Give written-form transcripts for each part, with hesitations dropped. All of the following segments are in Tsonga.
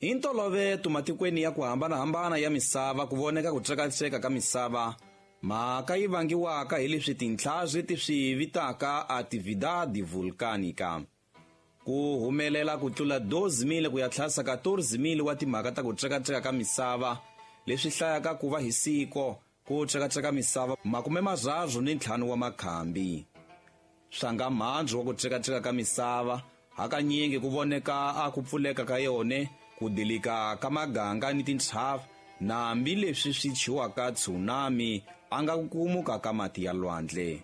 Hi ntoloveto matikweni ya ku hambanahambana ya misava ku voneka ku tsekatseka ka misava, mhaka yi vangiwaka hi leswi tintlhari ti swi vitaka atividade vulcanica. Ku humelela ku tlula 12,000 ku ya tlhasa 14,000 wa timhaka ta ku tsekatseka ka misava, leswi hlayaka ku va hi siko ku tsekatseka misava 35 wa makhambi. Swanga mhandzu wa ku tsekatseka ka misava hakanyingi ku voneka a ku pfuleka ka yone, ku dilika ka maganga ni tintshava, nambi leswi swi chiwaka tsunami a nga ku kumuka ka mati ya lwandle.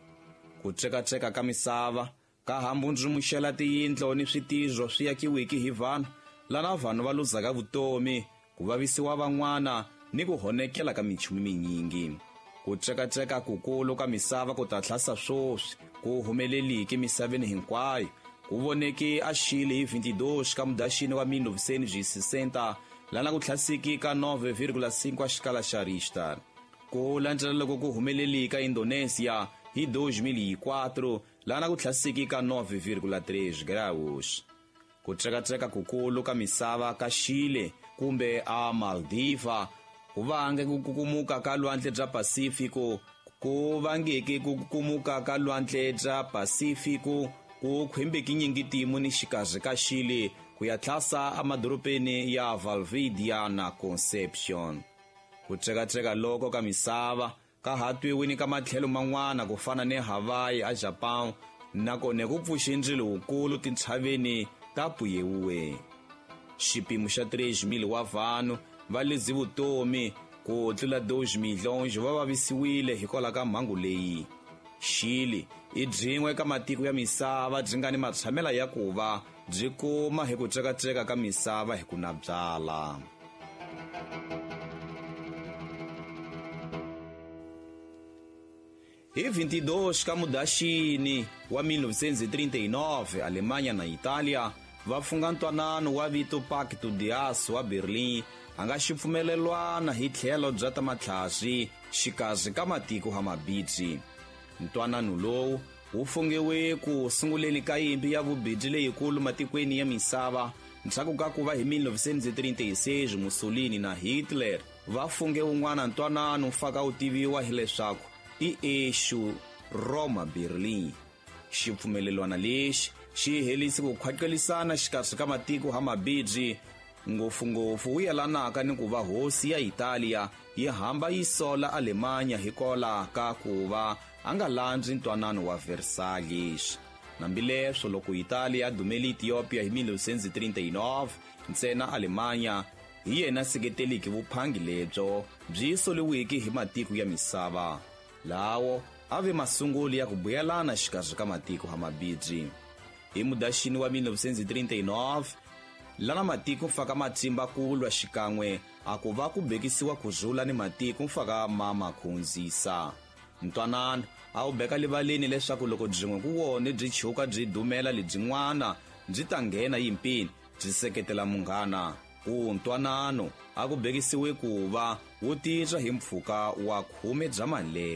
Ku tsekatseka ka misava ka hambundzumuxela tiyindlo ni switirho swi yakiwiki hi vanhu, lana vanhu va luzaka vutomi, ku vavisiwa van'wana ni ku honekela ka minchumu minyingi. Ku tsekatseka kukulu ka misava ku ta tlhasa swoswi ku humeleliki misaveni hinkwayo, ku voneki a Chile hi 22 ka Mudaxini wa 1960, lana ku tlhasiki ka 9,5 wa xikala xa Richter. Ku landzela loko ku humelelika Indonesia hi 2004, lana ku tlhasiki ka 9,3 graus. Ku tsekatseka kukulu ka misava ka Chile kumbe a Maldiva ku vange ku kukumuka ka lwandle bya Pasifiko, ku vangeke ku kukumuka ka lwandle bya Pasifiko ku khwimbeki nyingitimu ni xikarhi ka Chile ku ya tlhasa emadorobeni ya Valdivia na Concepcion. Ku tsekatseka loko ka misava ka ha twiwini ka matlhelo man'wana ku fana ni Hawaii a Japan, nakona ku pfuxe ndzilo wukulu tintshaveni ta Puyehue. Xipimo xa 3,000 wa vanhu va leze vutomi, ku tlula 2 milhonji va vavisiwile hikwalaho ka mhangu leyi. Chile i byin'we ka matiko ya misava byi nga ni matshamela ya ku va byi kuma hi ku tsekatseka ka misava hi ku na byala. Hi 22 ka Mudaxini wa 1939, Alemanha na Italia va funga ntwanano wa vito Pacto de Aço wa Berlin, a nga xipfumelelwana hi tlhelo bya ta matlhasi xikarhi ka matiko ha mabidzi. Ntwanano lowu wu fungiwe ku sunguleni ka yimpi ya vubidzi leyikulu matikweni ya misava, ndzhaku ka ku va hi 1936 Mussolini na Hitler va funge wun'wana ntwanano faka wu tiviwa hileswaku i Eixo Roma Berlin. Xipfumelelwana lexi xi helise ku khwaqelisana xikarhi ka matiko ha mabidzi, ngopfungopfu wu yelanaka ni ku va hosi ya Italia yi hamba yi sola Alemanya hikwalaho ka ku va a nga landzi ntwanano wa Versailles. Hambileswo loko Italia a dumele Ethiopia hi 1939, ntsena Alemanya hi yena seketeliki vuphangi lebyo byi soliwiki hi matiko ya misava. Lawo a ve masungulo ya ku buyelana xikarhi ka matiko ha mabidzi. Hi Mudaxini wa 1939, lana matiko mfaka matsimba ku lwa xikan'we a ku va ku bekisiwa ku rhula ni matiko mfaka ma makhundzisa. Ntwanano a wu beka livaleni leswaku loko byin'we ku wone byi chuka byi dumela lebyin'wana byi ta nghena yimpini byi seketela munghana. Ku ntwanano a ku bekisiwe ku va wu titwa hi mpfhuka wa 10 bya malembe.